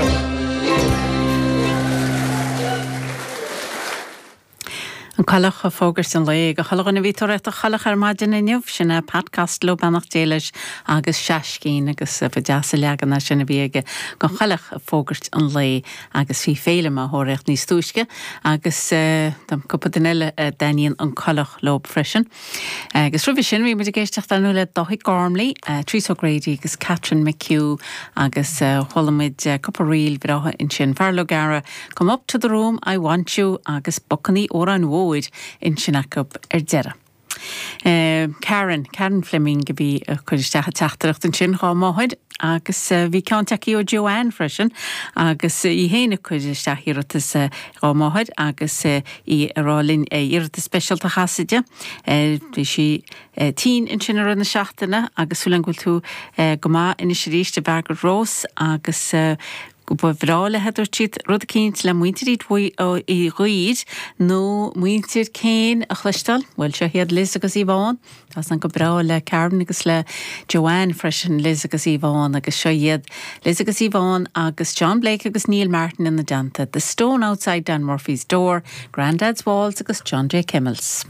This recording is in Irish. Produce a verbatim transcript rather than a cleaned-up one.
go. An Coileach ag fógairt an lae do chuile dhuine a bhí ag tóraíocht an choileach ar maidin inniu, sin é Pat Costello beannacht Dé leis agus Seaiscín agus ba deas an leagan é sin a bhí aige den choileach ag fógairt an lae agus bhí Féilim á thóraíocht níos túisce agus tá cúpla duine eile a dtaitníonn an coileach leo freisin. Agus roimhe sin bhí muid ag éisteacht ar ndóigh le Dáithí Gormley, Teresa O'Grady agus Catherine McHugh agus chuala muid cúpla ríl bhreátha ansin Feargal O'Gara, Come up to the room, I want you agus Bucannaí Óráin Mhóir ansin acu ar deireadh. Karen, Karen Fleming a bhí ag cur isteach an teachtaireacht ansin dhá máthair agus bhí ceann tagtha ó Joanne freisin agus í féin ag cur isteach iarratas dhá máthair agus í ag rá linn iarratas speisialta a chasadh di. Bhí sí tinn ansin i rith na seachtaine agus súil agam go bhfuil tú go maith anois arís a Mhargaret Rose agus go ba bhreá léi a dúirt siad rud eicínt le muintir Uí Dhuibhir nó muintir Kane a chloisteáil, bhuel seo iad Liz agus Yvonne, Tá san go breá le Karen agus le Joanne freisin Liz agus Yvonne agus seo iad Liz agus Yvonne agus John Blake agus Neil Martin ina dteannta, The Stone Outside Dan Murphy's Door, Grandad's Waltz agus John J. Kimmels.